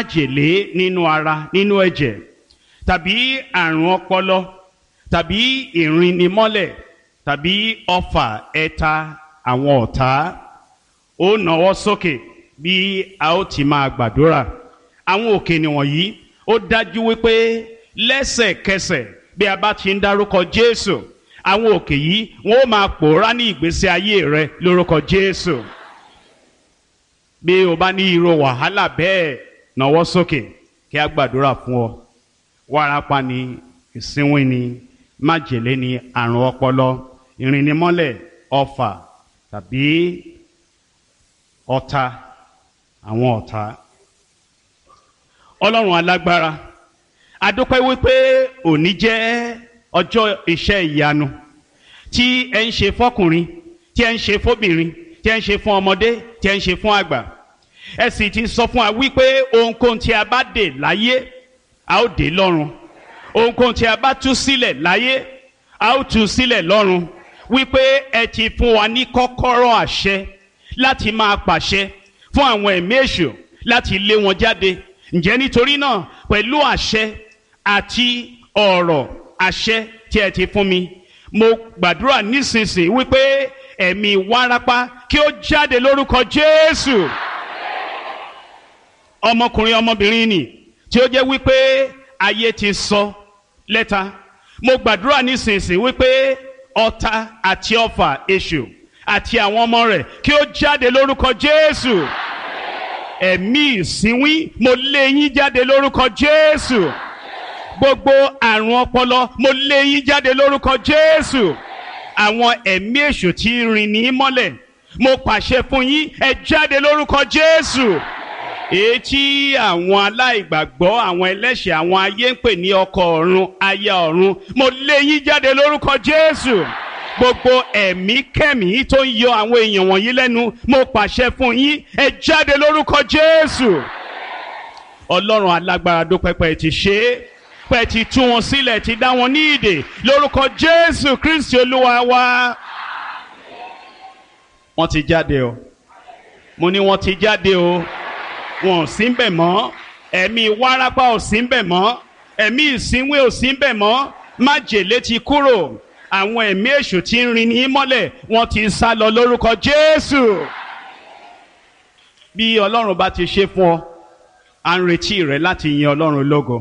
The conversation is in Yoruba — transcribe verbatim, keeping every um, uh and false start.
Májèlé nínú ara, nínú ẹ̀jẹ̀, tàbí àrùn ọpọlọ, tàbí ìrìnnimọ́lẹ̀, tàbí ọfà ẹ̀ta àwọn ọ̀tá. Ó nàwọ́ sókè bí a ó ti máa gbàdúrà. Àwọn òkè nìwọ̀nyí, ó dájú wípé lẹ́sẹ̀kẹsẹ̀ bí a bá ti ń dárúkọ Jésù, àwọn òkè yìí wọn ó máa pòórá ní ìgbésí ayé rẹ lórúkọ Jésù. Bí o bá ní irú wàhálà bẹ́ẹ̀, nàwọ́ sókè kí a gbàdúrà fún ọ. Wárápá ni, ìsínwín ni, májèlé ni, àrùn ọpọlọ, ìrìnnimọ́lẹ̀, ọfà tàbí ọ̀tá àwọn ọ̀tá. Ọlọ́run alágbára, a dúpẹ́ wípé òní jẹ́ ọjọ́ iṣẹ́ ìyanu tí ẹ ń ṣe fọ́kùnrin, tí ẹ ń ṣe fóbìnrin, tí ẹ ń ṣe fún ọmọdé, tí ẹ ń ṣe fún àgbà. Ẹ sì ti sọ fún wa wípé ohunkóhun tí a bá dè láyé, a ó dè lọ́run. Ohunkóhun tí a bá tú sílẹ̀ láyé, a ó tú sílẹ̀ lọ́run. Wípé ẹ ti fún wa ní kọ́kọ́rọ́ àṣẹ láti máa pàṣẹ fún àwọn ẹ̀mí èṣù láti lé wọn jáde. Ǹjẹ́ nítorí náà, pẹ̀lú àṣẹ àti ọ̀rọ̀ àṣẹ tí ẹ ti fún mi, mo gbàdúrà nísinsìnyí wípé ẹ̀mí wárápá kí ó jáde lórúkọ Jésù. Ọmọkùnrin, ọmọbìnrin nì tí ó jẹ́ wípé ayé ti sọ lẹ́ta, mo gbàdúrà nísinsìnyí wípé ọ̀tá àti ọfà èṣù àti àwọn ọmọ rẹ̀ kí ó jáde lórúkọ Jésù. Ẹ̀mí ìsínwín, mo lé yín jáde lórúkọ Jésù. Gbogbo àrùn ọpọlọ, mo lé yín jáde lórúkọ Jésù. Àwọn ẹ̀mí èṣù tí ń rìn ní mọ́lẹ̀, mo pàṣẹ fún yín, ẹ jáde lórúkọ Jésù. Èyí tí àwọn aláìgbàgbọ́, àwọn ẹlẹ́ṣẹ̀, àwọn ayé ń pè ní ọkọ ọ̀run, aya ọ̀run, mo lé yín jáde lórúkọ Jésù. Gbogbo ẹ̀mí kẹ́mí tó ń yọ àwọn èèyàn wọ̀nyí lẹ́nu, mo pàṣẹ fún yín, ẹ jáde lórúkọ Jésù. Ọlọ́run alágbára, dúpẹ́ pé ẹ ti ṣe é, pé ẹ ti tú wọn sílẹ̀, ti dá wọn ní ìdè lórúkọ Jésù Kristi Olúwa wa. Wọ́n ti jáde o. Mo ní wọ́n ti jáde o. Wọn ò sí ń bẹ̀ mọ́. Ẹ̀mí wárápá ò sí ń bẹ̀ mọ́. Ẹ̀mí ìsínwé ò sí ń bẹ̀ mọ́. Májèlé ti kúrò. Àwọn ẹ̀mí èṣù tí ń rin ní mọ́lẹ̀, wọ́n ti sá lọ lórúkọ Jésù. Bí Ọlọ́run bá ti ṣe fún ọ, à ń retí rẹ láti yin Ọlọ́run lógo.